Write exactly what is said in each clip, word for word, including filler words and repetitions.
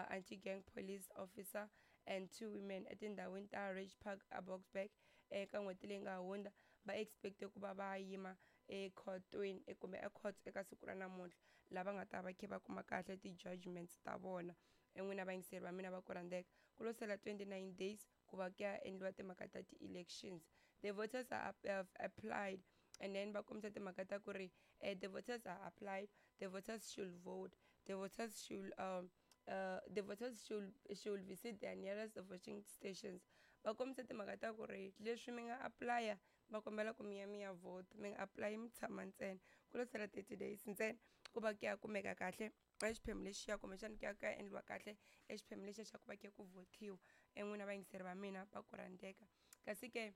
uh, anti-gang police officer and two women etindhawini ta Ridge Park aBoksburg eka n'hweti leyi nga hundza. Va expecte ku va va yima ekhotweni kumbe ecourt eka siku ra namuntlha, lava nga ta va kha va kuma kahle ti-judgments ta vona. N'wina vayingiseri va mina va ku rhandzeka, ku lo sala twenty-nine days ku va ku ya endliwa timhaka ta ti-elections. The voters are have applied, and then va kombisa timhaka ta ku ri eh, the voters are applied, the voters should vote, the voters should um, uh, the voters should should visit their nearest voting stations. Va kombisa timhaka ta ku ri leswi mi nga apply-a, va kombela ku mi ya mi ya vote, mi nga apply mi tshama ntsena. Ku lo sala thirty days ntsena ku va ku ya kumeka kahle exiphemu lexiya, kumbexana ku ya ku ya endliwa kahle exiphemu lexiya xa ku va ku ya ku votiwa. N'wina vayingiseri va mina va ku rhandzeka, kasi ke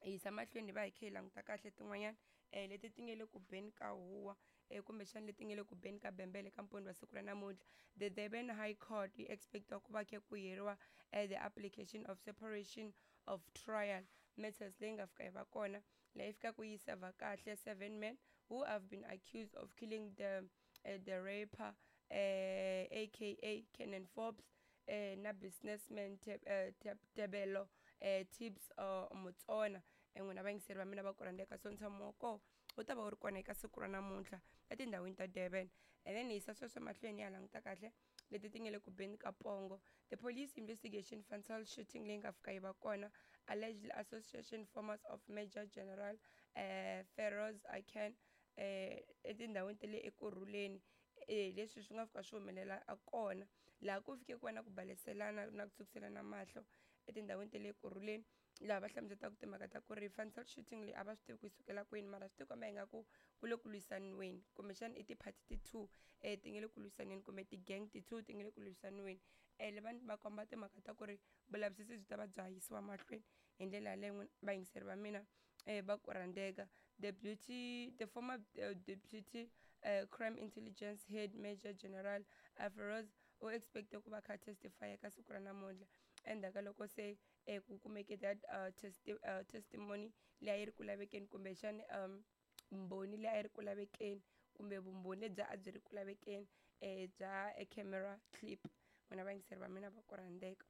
hi yisa mahlweni hi va hi kha hi languta kahle tin'wanyana um leti ti nga le ku beni ka huwa um kumbexana leti nga le ku beni ka bembele ka mpundzu wa siku ra namuntlha. The Durban High Court yi expectiwa ku va kha ku hiriwa uh, the application of separation of trial matters leyi nga fika yi va kona, leyi fikaka yi serve kahle seven men who have been accused of killing the uh, the rapper uh, aka Kenan Forbes eh na businessman Tebello eh Tips uh, Motsona. N'wina vayingiseri va mina va ku rhandzeka, so ntshamo wa koho wu ta va wu ri kona eka siku ra namuntlha etindhawini ta Durban. And then hi yisa sweswo mahlweni ya languta kahle leti ti nga le ku beni ka pongo. The police investigation fatal shooting leyi nga fika yi va kona, allegedly association formers of Major General eh Feroz Akan eh etindhawini ta le Ekurhuleni, eh leswi swi nga fika swi humelela a kona laha ku fike ku va na ku baleselana na ku tshukiselana mahlo etindhawini ta le Ekurhuleni, laha va hlamuselaka timhaka ta ku ri fatal shooting leyi a va swi tivi ku yi sukela kwini, mara swi tikomba ingaku ku le ku lwisaniweni, kumbexana i ti-party ti-two um ti nga le ku lwisaneni, kumbe ti-gang ti-two ti nga le ku lwisaniweni. Um vanhu va komba timhaka ta ku ri vulavisisi byi ta va bya yisiwa mahlweni hi ndlela yaleyo. Vayingiseri va mina um va ku rhandzeka, the beauty the former uh, deputy uh, crime intelligence head Major General Feroz u expecte ku va kha testify eka siku ra namuntlha, endzhaku ka loko se eh, ku kumeke that uh, testi uh, testimony leyi a yi ri ku lavekeni, kumbexani um mbhoni leyi a yi ri ku lavekeni, kumbe vumbhoni lebyi a byi ri ku lavekeni um bya e camera clip. N'wina vayingiseri va mina va ku rhandzeka,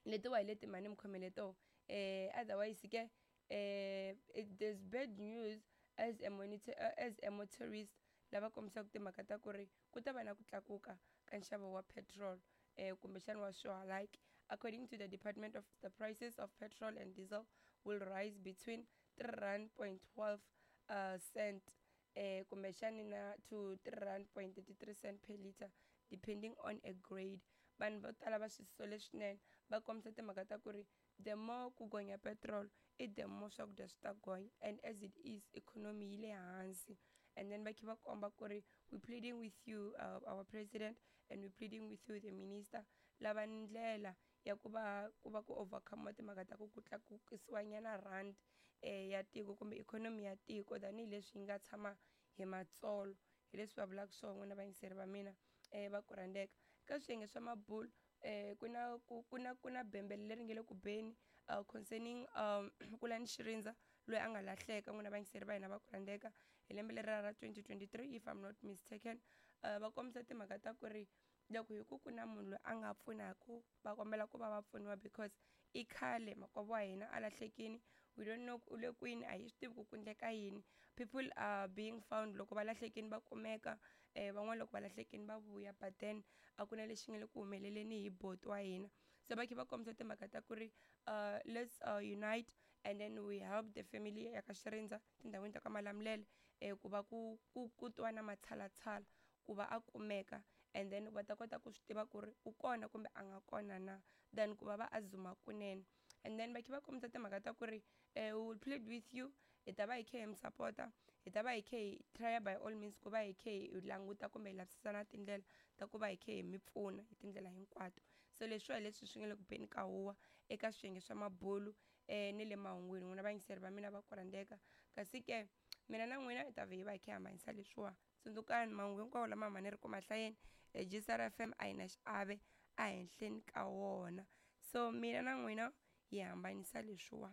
letiwa hi leti mhani mi khomele toho. um otherwise ke um there's bad news as a monitor uh, as a motorist, lava kombisaka timhaka ta ku ri ku ta va na ku tlakuka ka nxavo wa petrol eh kumbexana wa swihalaki. According to the department of the prices of petrol and diesel will rise between three rand point twelve uh, cent eh kumbexani na to three rand point thirty-three cent per liter, depending on a grade. Vanhu vo tala va swi sole swinene, va kombisa timhaka ta ku ri the more ku gonya petrol i the more swakudya swi ta gonya, and as it is economy yi le hansi. And then va kha va komba ku ri we pleading with you uh, our president, and we pleading with you the minister, lava ndlela ya ku va ku va ku overcome timhaka ta ku ku tlakukisiwa nyana rand eh ya tiko kumbe economy ya tiko, tanihileswi yi nga tshama hi matsolo. Hi leswi va vulaka swona, n'wina vayingiseri va mina um va ku rhandzeka. Ka swiyenge swa mabulu eh ku na ku ku na ku na bembele leri nga le ku beni uh, concerning um Kulani Xirindza loyi a nga lahleka. N'wina vayingiseri va hina va ku rhandzeka, hi lembe leri ra twenty twenty-three if I'm not mistaken, uh, va kombisa timhaka ta ku ri loko hi ku ku na munhu loyi a nga pfunaka, va kombela ku va va pfuniwa, because i khale makwavo wa hina a lahlekini, we don't know u le kwini, a hi swi tivi ku ku endleka yini. People are being found loko va lahlekini va kumeka, um van'wana loko va lahlekini va vuya, but then a ku na lexi nga le ku humeleleni hi boti wa hina. Se va kha va kombisa timhaka ta ku ri uh, let's uh, unite and then we help the family ya ka Xirindza tindhawini ta ka Malamulele um ku va ku ku ku twa na matshalatshala ku va a kumeka, and then va ta kota ku swi tiva ku ri u kona kumbe a nga kona na, than ku va va azuma kunene. And then va kha va kombisa timhaka ta ku ri um we will plead with you, hi ta va hi kha hi mi sapota, hi ta va hi kha hi try by all means ku va hi kha hi languta kumbe hi lavisisa na tindlela ta ku va hi kha hi mi pfuna hi tindlela hinkwato. So leswiwa hi leswi swi nga le ku beni ka huwa eka swiyenge swa mabulu um ni le mahungwini, n'wina vayingiseri va mina va ku rhandzeka. Kasi ke mina na n'wina hi ta vhe hi va hi kha hi hambanyisa leswiwa. Tsundzukani mahungu hinkwawo lama ma ni ri ku mahlayeni e G S R F M a yi na xiave ehenhleni ka wona, so mina na n'wina hi hambanyisa leswiwa.